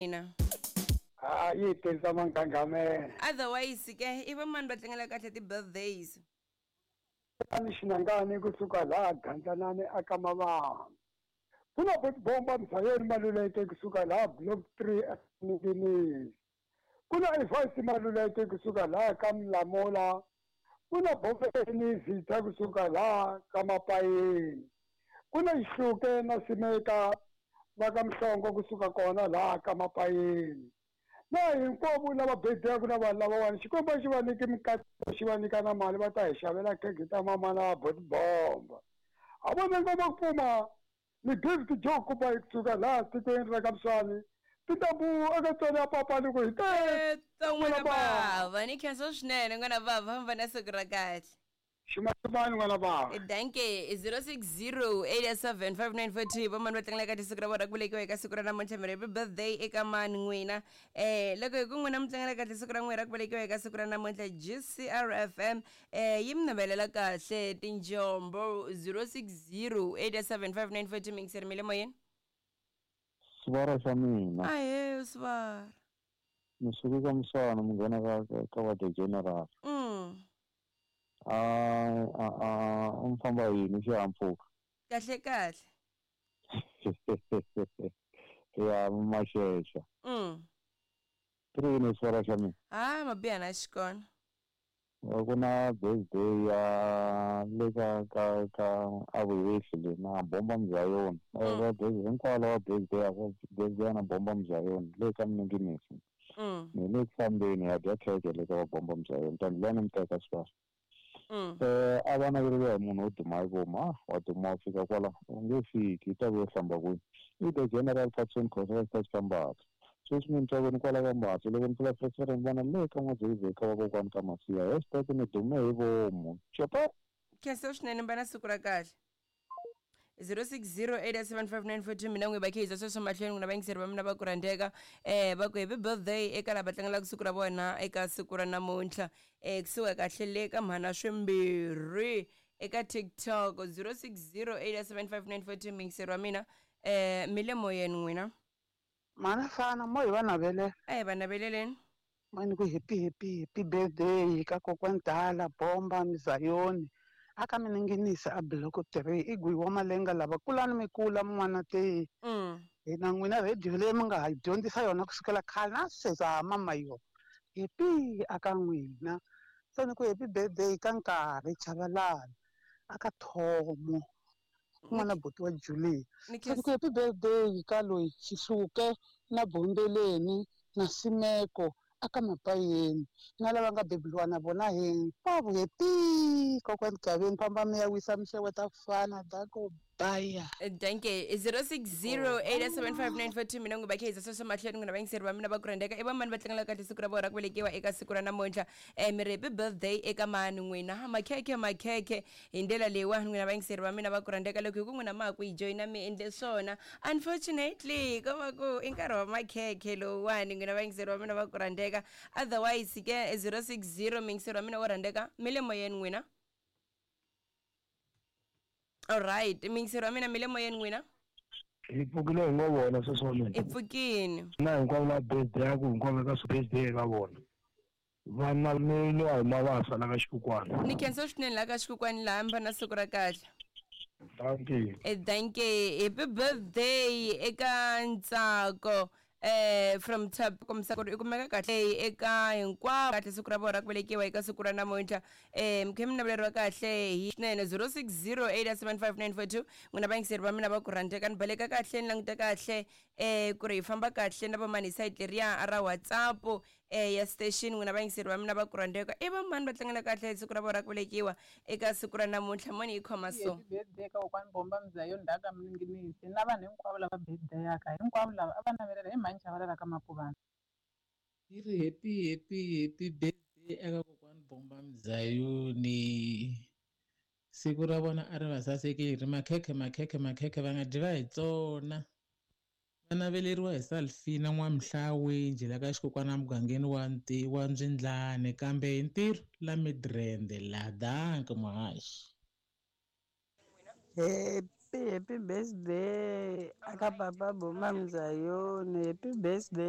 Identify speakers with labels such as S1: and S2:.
S1: Ina.
S2: Ha yi tirhisa manghanghamela.
S1: Otherwise ke i va mani va tlangela kahle ti-birthdays?
S2: Ni xinangani kusuka laha Gandlanani aka Mavambu. Ku na Botibomba Mzayeni Maluleke kusuka laha Block 3 eNinginisi. Ku na Evasi Maluleke kusuka laha ka Mlamula. Ku na Bobeni Vita kusuka laha ka Mapayeni. Ku na Xihluke na Simeka va ka Mhlongo kusuka kona laha ka Mapayeni. Na hinkwavo lava bediyaka na vanhu lavawani Xikwembu a xi va nyiki mikateko xi va nyika na mali va ta hi xavela khekhe ta mama na Botibomba. A vona ngoma ku pfuma ni Gift Joe Kuba kusuka laha tikweni ra ka Mswani tintambu eka tswari ya papa loko hi te
S1: N'wana bava ni khensa swinene n'wana bava famba na siku ra kahle.
S2: Ximaximani n'wana bava.
S1: Danke 06087594 vamani va tlangela ka siku ra vona ra ku velekiwa eka siku ra namuntlha mi happy birthday eka mani n'wina loko hi ku n'wina mi tlangela kahle siku ra n'wina ra ku velekiwa eka siku ra namuntlha GCRFM yi mi navelela kahle tinjombo 06087594 mingiseri mi le moyeni.
S3: Sivara xa mina.
S1: Ahe sivara.
S3: Ni suke ka Muswana munghana ka ka va the general. A a a u mi famba yini xihahampfhuka?
S1: Kahle kahle.
S3: Ya maxexa. Ku ri yini sivara xa mina?
S1: Ha mabiha na xikona.
S3: Ku na birthday ya le ka ka ka avuhehli le na bomba Mzayoni. Va birthday hinkwavo lava birthday ya birthday na bomba Mzayoni le ka Mninginisi. Ni le ku fambeni ya dya khekhe le ka va bomba Mzayoni tani lani mi teka sivara. A va naveriwa hi munhu wo duma hi voma wa duma wa fika kwala u nge fiki i ta vuya hlamba kwini. I the general Patson Khosa va xi sweswi mi ni twa ni kwala ka Mbatsi loko ni pfula Freestyle ni vona le ka N'wa-Dzivhi ka vakokwani ka Masiya hashtag ni dume hi vomu copa.
S1: Khensa swinene mba na siku ra kahle. 06087594 mina n'wi va khe sweswo mahlweni n'wina vayingiseri va mina va ku rhandzeka va ku happy birthday eka lava tlangelaka siku ra vona eka siku ra namuntlha kusuka kahle le ka mhana swimbirhi eka TikTok 06087594 muyingiseri wa mina mi le moyeni n'wina.
S4: Mhana fana mo hi va navelela.
S1: A hi va naveleleni.
S4: Mani ku happy happy happy birthday ka kokwani Dala Bomba Mzayoni aka Mininginisi a block 3 i gwiwa wa malenga lava kulani mi kula mun'wana te. Hina n'wina radio leyi mi nga ha dyondzisa yona kusukela khale na sweswi ha mama yona. Happy aka n'wina. Se ni ku happy birthday ka nkarhi Chavalala aka Thomo. N'wana buti wa Julie. Se ni ku happy birthday ka loyi Xihluke na Bombeleni na Simeko aka Mapayeni na lava nga bebuliwa na vona hinkwavo happy kokwani Gaveni famba mi ya wisa mi xeweta fana dako baya.
S1: Danke 06087594 mina n'wi va khe sweswo mahlweni n'wina vayingiseri va mina va ku rhandzeka i va mani va tlangela kahle siku ra vona ra ku velekiwa eka siku ra namuntlha mi ri happy birthday eka mani n'wina makhekhe makhekhe hi ndlela leyiwani n'wina vayingiseri va mina va ku rhandzeka loko hi ku n'wina ma ha ku yi joyina mi endle swona unfortunately ko va ku i nkarhi wa makhekhe lowuwani n'wina vayingiseri va mina va ku rhandzeka otherwise ke 060 muyingiseri wa mina wo rhandzeka mi le moyeni n'wina. Alright muyingiseri wa mina mi le moyeni n'wina.
S5: Hi pfukile hi ngo vona sweswi wa mina.
S1: Hi pfukile.
S5: Na hinkwavo la birthday ya ku hinkwavo eka birthday eka vona. Vana ni wa hi mavasa la ka Xikukwana.
S1: Ni khensa swinene la ka Xikukwana laha mi va na siku ra kahle.
S5: Dankie.
S1: Dankie. Happy birthday eka Ntsako from Tap kombisa ku ri i kumeka kahle eka hinkwavo kahle siku ra vona ra ku velekiwa eka siku ra namuntlha mi khe mi naveleriwa kahle hi swinene 06087594 n'wina vayingiseri va mina va ku rhandzeka ni baleka kahle ni languta kahle ku ri hi famba kahle na vamani hi sayiti leriya ra WhatsApp ya station n'wina vayingiseri va mina va ku rhandzeka i vamani va tlangela kahle siku ra vona ra ku velekiwa eka siku ra namuntlha moni yi khoma so.
S6: Happy birthday ka kokwani Bomba Mzayoni Ndaka Mninginisi na vanhu hinkwavo lava birthday-aka hinkwavo lava a va navelela hi mhani Chavalala ka Mapuvana.
S7: Yi ri happy happy happy birthday eka kokwani Bomba Mzayoni. Siku ra vona a ri va sasekile ri makhekhe makhekhe makhekhe va nga dyi va hi tsona. Va naveleriwa hi Salfina N'wamhlawi njhe la ka xikokwana mugangeni wa wa Ndzindlane kambe hi ntirho la Midrand la danke muhaxi.
S8: Happy Happy happy birthday aka papa Bomba Mzayoni. Happy birthday.